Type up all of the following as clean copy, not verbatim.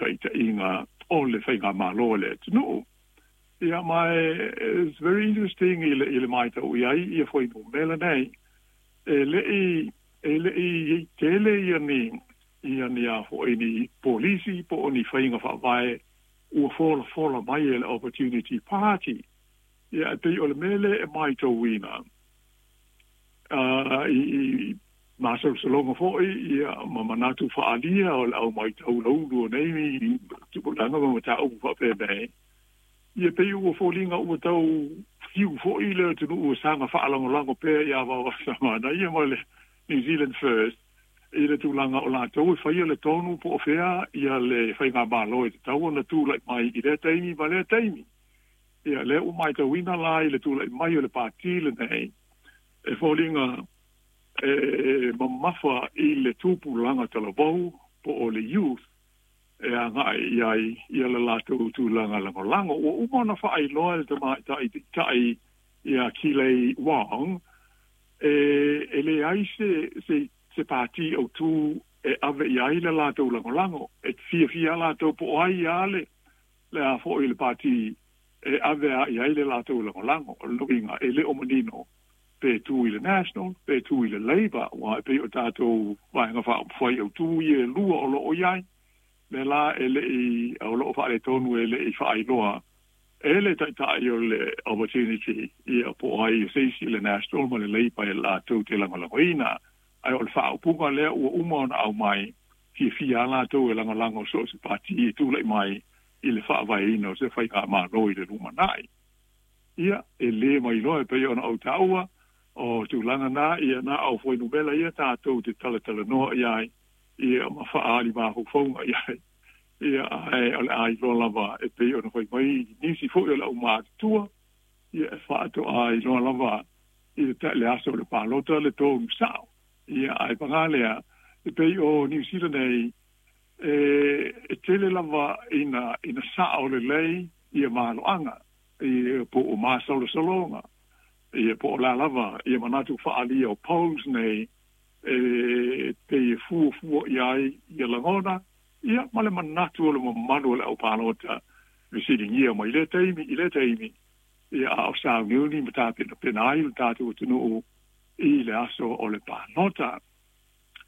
taʻitaʻiga o le faigamālō a le atunuu. Ia ma e it's very interesting i le i le matau i ai ia fuainumera nei, e leʻi e leʻi i ai tele ia ni ia ni a foʻi ni polisi po o ni faiga faavae ua folafola mai e le Opportunity Party. Ia e pei o le mea lea e matauina i i masalosaloga foi ia ma manatu faaalia o le au matau laulu o nei tupulaga ma mataupu faapenei. Ia pei ua foliga ua tau fiu foi le atunuu e saga faalagolago pea iā Vaovaosa Manaia ma le New Zealand First i le tulaga o latou e faia le tonu po o fea ia le faigamalo e tatau ona tulai mai i lea taimi ma lea taimi. Ia lea ua matauina la i le tulai mai o le pati lenei e foliga e mamafa i le tupulaga talavou po o le youth e agai i ai ia le latou tulaga lagolago. Ua uma ona faailoa e le tamaitai taitai ia Kilei Wong e leai se se se pati autū e ave i ai le latou lagolago. E fiafia latou po o ai lava le le a foi le pati e ave a i ai le latou lagolago. O le uiga, e le o manino pe tu i le National, pe tu i le Labour, aua e pei o tatou Vaega Faaupufai autū ia e lua o lo o i ai. Lea la e le i, o lo o faaletonu e le i faailoa e le Taitai o le Opportunity ia po o ai o se isi le National ma le Labour e latou te lagolagoina. Ae o le faaupuga lea ua uma ona aumai, fiafia lava latou e lagolago so o se pati e tulai mai i le faavaeina o se faigamalo i le lumanai. Ia, e le mailoa e pei ona ou taua, o tulaga na, ia na o fuainumera ia tatou te talatalanoa i ai, ia ma faaali mafaufauga i ai. Ia, ae o le a iloa lava e pei ona fai mai nisi foi o le aumatutua, ia e faatoa iloa lava i le, le aso o le palota le tonu sao. Ia, ae paga lea, e pei o Niu Sila nei, e tele lava ina, ina sao lelei ia maloaga, ia po o masalosaloga, ia po o le a lava ia manatu faaalia o polls nei, e pei e fuafua i ai ia lagona, ia ma le manatu o le mamalu o le aupalota fesiligia mai lea taimi i lea taimi, ia a o sauniuni ma tapenapena ai le tatou atunuu i le aso o le palota.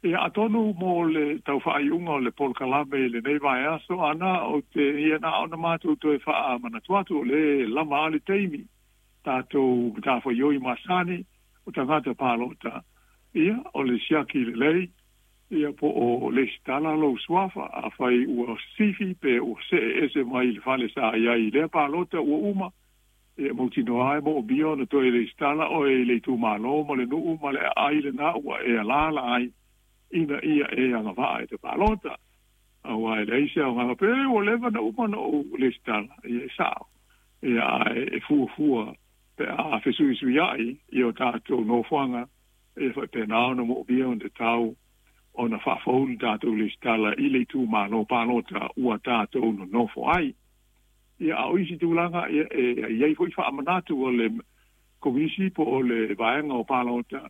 Ia atonu mo le tau faaiuga o le polokalame i lenei vaiaso ana ou te ia na ona matou toe faamanatu atu o lea e lava a le taimi tatou matafaioi masani o tagata palota. Ia o le siaki lelei ia po o lesitala lou suafa afai ua sifi pe ua see ese mai i le fale sa i ai i lea palota ua uma. E mautinoa e moomia ona toe lesitala oe i le itumalo ma le nuu ma le aai lena ua e alaala ai ina ia e agavaa e te palota. Aua e leai se aoga pe ua leva na uma ona ou lesitala, ia e sao. Ia ae e fuafua pe a fesuisuiai i o tatou nofoaga, e faapena ona moomia ona tatau ona faafou le tatou lesitala i le itumalo palota ua tatou nonofo ai. Ia, a o isi tulaga, ia, e i ai foi faamanatu o le Komisi po o le Vaega o Palota,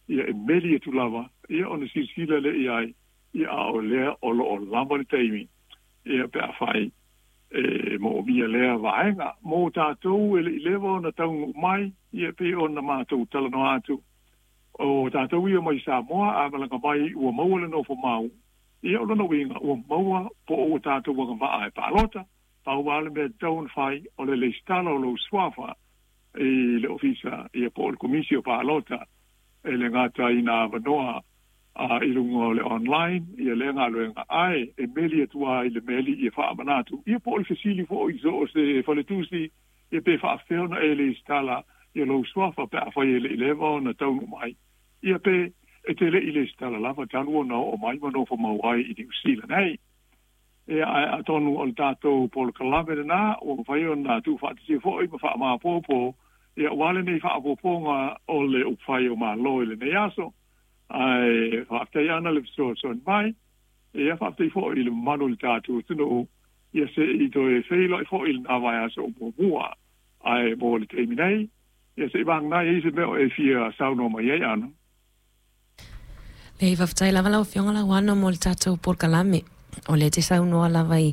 ia, e meli atu lava, ia, ona silasila lea i ai, ia, a o lea o lo o lava le taimi, ia, pe afai e moomia lea vaega. Mo tatou e le i leva ona taunuu mai, ia, e pei ona matou talanoa atu, o tatou ia mai Samoa, a malaga mai ua maua le nofo mau, ia, o lona uiga, ua maua po o ua tatou agavaa e palota. Pau lava le mea e tatau ona fai, o le lesitala o lou suafa i le ofisa ia po o le Komisi o Palota, e le gata i nā avanoa i luga o le online ia lea galuega, ae e meli atu lava i le meli ia faamanatu ia po o le fesili foi i so o se faletusi ia pe faafefea ona e lesitala ia lou suafa pe afai e le i leva ona taunuu mai ia pe e te le i lesitala lava talu ona oo mai ma nofo mau ai i Niu Sila nei. Ia, ae atonu o le tatou polokalame lena ua mafai ona tuufaatasia foi ma faamaopoopo, ia, aua lenei faaopoopoga o le upufai o Malo i lenei aso. Ae faafetai ana le fesoasoani mai. Ia, faafetai foi i le mamalu o le tatou atunuu, ia se i toe feiloai foi i lena vaiaso o muamua. Ae mo le taimi nei, ia se i vagana ai se mea o e fia saunoa mai ai ana. Leai, faafetai lava lau Afioga Lauano mo le tatou polokalame. O lea e te saunoa lava i